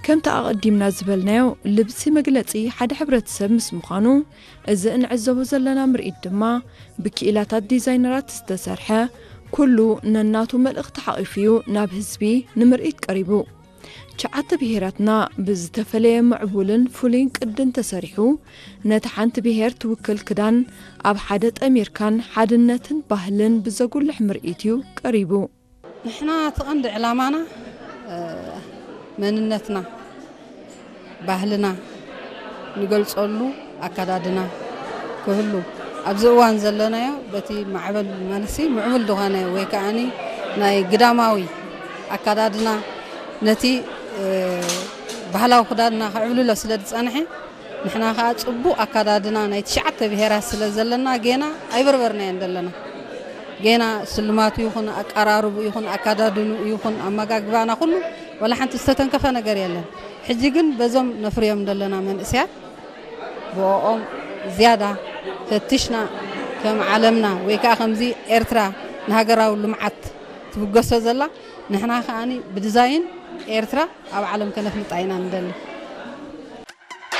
ከምቲ ኣቐዲምና ዝበልናዮ፣ ልብሲ መግለጺ ሓደ ሕብረተሰብ ምስ ምዃኑ፣ እዚ እንዕዘቦ ዘለና ምርኢት ድማ ብክኢላታት ዲዛይነራት ዝተሰርሐ፣ ኩሉ ነናቱ መልእኽቲ ሓቒፉ እዩ ናብ ህዝቢ ንምርኢት ቀሪቡ። ትሽዓተ ብሄራትና ብዝተፈለየ ምዕቡልን ፍሉይን ቅድን ተሰሪሑ፣ ነቲ ሓንቲ ብሄር ትውክል ክዳን ኣብ ሓደ ጠሚርካን ሓድነትን ባህልን ብዘጉልሕ ምርኢት እዩ ቀሪቡ። ንሕና እቲ ቀንዲ ዕላማና፣ እ፣ መንነትና፣ ባህልና ንገልጸሉ ኣከዳድና ክህሉ፣ ኣብዚ እዋን ዘለናዮ በቲ ማዕበል ማለትሲ ምዕቡል ዝኾነ ወይ ከዓኒ ናይ ግዳማዊ ኣከዳድና ነቲ፣ እ፣ ባህላዊ ክዳንና ከዕብልሎ ስለ ዝጸንሐ፣ ንሕና ከኣ ጽቡቕ ኣከዳድና ናይ ትሽዓተ ብሄራት ስለ ዘለና፣ ጌና ኣይበርበርናዮን ዘለና። ጌና ስልማቱ ይኹን፣ ኣቀራርቡ ይኹን፣ ኣከዳድኑ ይኹን፣ ኣመጋግባና ኩሉ፣ ወላ ሓንቲ ዝተተንከፈ ነገር የለን። ሕጂ ግን በዞም ነፍርዮም ዘለና መንእሰያት፣ ብኦም ዝያዳ ፈቲሽና፣ ከም ዓለምና ወይ ከኣ ከምዚ ኤርትራ ንሃገራዊ ልምዓት ትብገሶ ዘላ፣ ንሕና ከኣኒ ብዲዛይን ኤርትራ ኣብ ዓለም ከነፍልጣ ኢና ንደሊ።